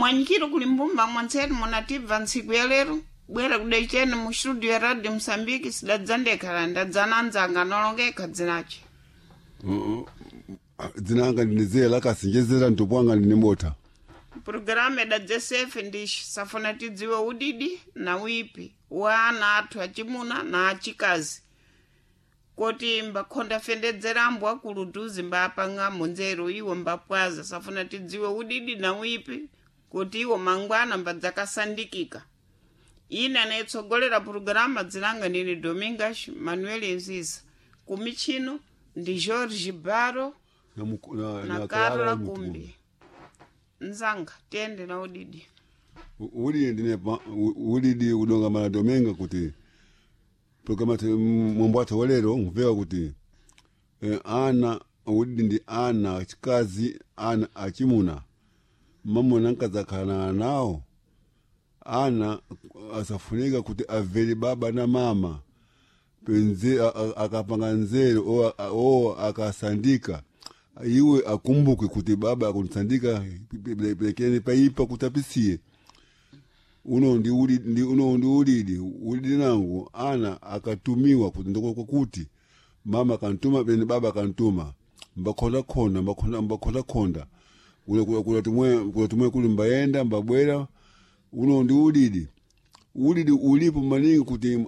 Kumwanyikiro kuli mbumba mwantseni munatibva ntsiku ya lero bwera kudaicheni mu studio ya Radio Msambiki sidadzandekhala ndadzana nzanga nolongeka dzinache. Dzinanga ndinezera kasinjezera ntopwanga ndine mota. Programu idadzesefe ndishi safuna tidziwe udidi na uipi wa ana athu achimuna na achikazi koti mbakhonda fendedzera akulu duzi mbapang'amo nzeru iwo mbapwaza safuna tidziwe udidi na uipi kuti iwo mangwana mbadzakasandikika. Ine anayitsogolera purogirama dzinanga nini Domingas Manuel Nziza kumichino ndi George Baro Na, muku- na, na na Carla Clara Kumbi. Mutumbi. Nzanga tiyende na udidi. Udidi ndine udidi udonga mara dominga kuti programa mwambo athu walero nkumveka kuti ana udidi ndi ana achikazi ana achimuna mamuna nkadzakhala nawo ana asafunika kuti avere baba na mama penze akapanga nzeru o akasandika iwe akumbuke kuti baba akunisandika pelekeni paipa kuti apisiye uno ndi ulidi uno ndi ulidi ulidi nangu ana akatumiwa kuti ndiko kuti mama kantuma pene baba kantuma mbakhonda khonda mbakhonda mbakhonda khonda kula kula kula tumwe kula tumwe kuli mbayenda mbabwera uno ndi ulidi ulidi ulipo maningi kuti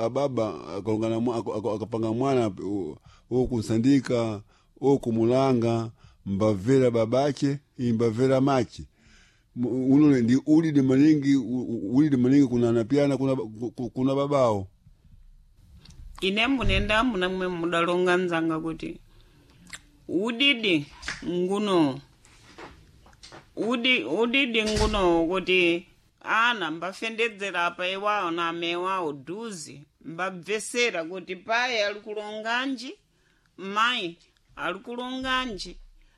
ababa akalongana akapanga mwana okunsandika okumulanga mbavera babache imbavera mache. Uno ndi ulidi maningi ulidi maningi kuna napiana kuna, kuna babao. Ine munenda munamwe mudalonga nzanga kuti udidi nguno udidi nguno kuti ana mbafendedzera apa iwawo na amewawo duzi mbabvesera kuti paye ali kulonganji mayi ali kulonganji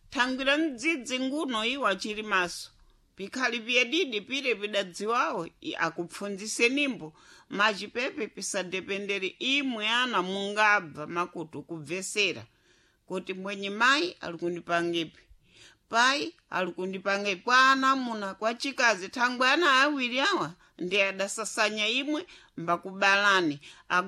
thangwira mdzidzi nguno iwo achili maso pikhali piyedidi pire pidadziwawo akupfundzisenimbo machipepe pisadependere imwe ana mungabva makutu kubvesera kuti mwenye mayi ali kundipangipi pai ali kundipangipi kwa ana muna kwa chikazi thangwe ana awiri awa ndi adasasanya imwe mbakubalani.